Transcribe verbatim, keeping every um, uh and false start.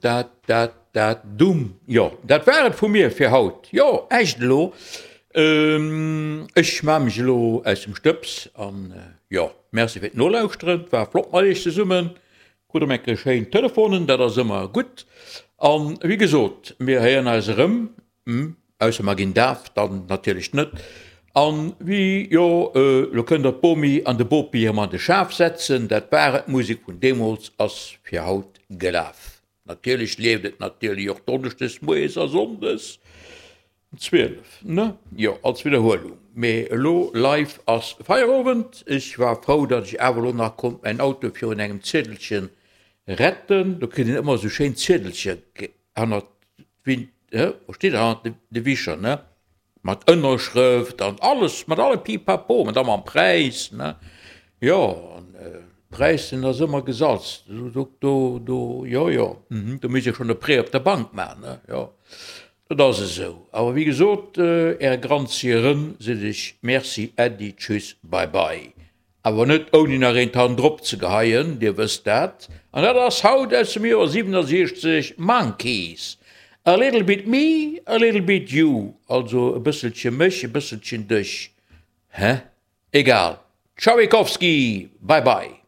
Dat, dat, dat, dumm. Jo, dat war et vu mir fir haut. Jo, echt elo. Ech maa mech elo aus dem Stëbs an jo, merci fir d'Nolauschteren. Et war flott mat iech zesummen. Krut erëm eng Kéier schéin Telefonen, dat ass ëmmer gutt. An wéi gesot, mir héieren eis erëm, ausser mer ginn daf, dann natierlech net. An wéi, jo, elo kënnt der d'Bomi an de Bopi erëm an de Schaf setzen. Dat war et, d'Musek vun deemools ass fir haut gelaf. Natierlech leeft et natierlech och donneschdes moies a sonndes um zwielef, ne? Jo, als Widderhuelung. Mee elo live ass Feierowend. Ech war frou, datt ech awer elo nach konnt mäin Auto virun engem Ziedelche retten. Do kritt een ëmmer esou schéin Ziedelche hannert d'Win, wou steet dat, hannert de Wischer, ne? Mat Ënnerschrëft an alles, mat allem Pipapo, an da mam Präis, ne? Jo, an Präis, deen ass ëmmer gesalzt. Do, do, do, jo, jo, do misst ee schonn e Prêt op der Bank maachen, ne? Jo, dat ass esou. Awer wéi gesot, Äre Granzieren seet ech Merci, Äddi, Tschüss, Bye bye. Awer net ouni nach eent hannendrop ze geheien, Dir wësst dat. An dat ass haut aus dem Joer siwenasiechzeg Monkees, A little bit me, a little bit you, also e bësselche mech, e bësselchen dech. Hä? Egal. Tschauikowski! Bye bye!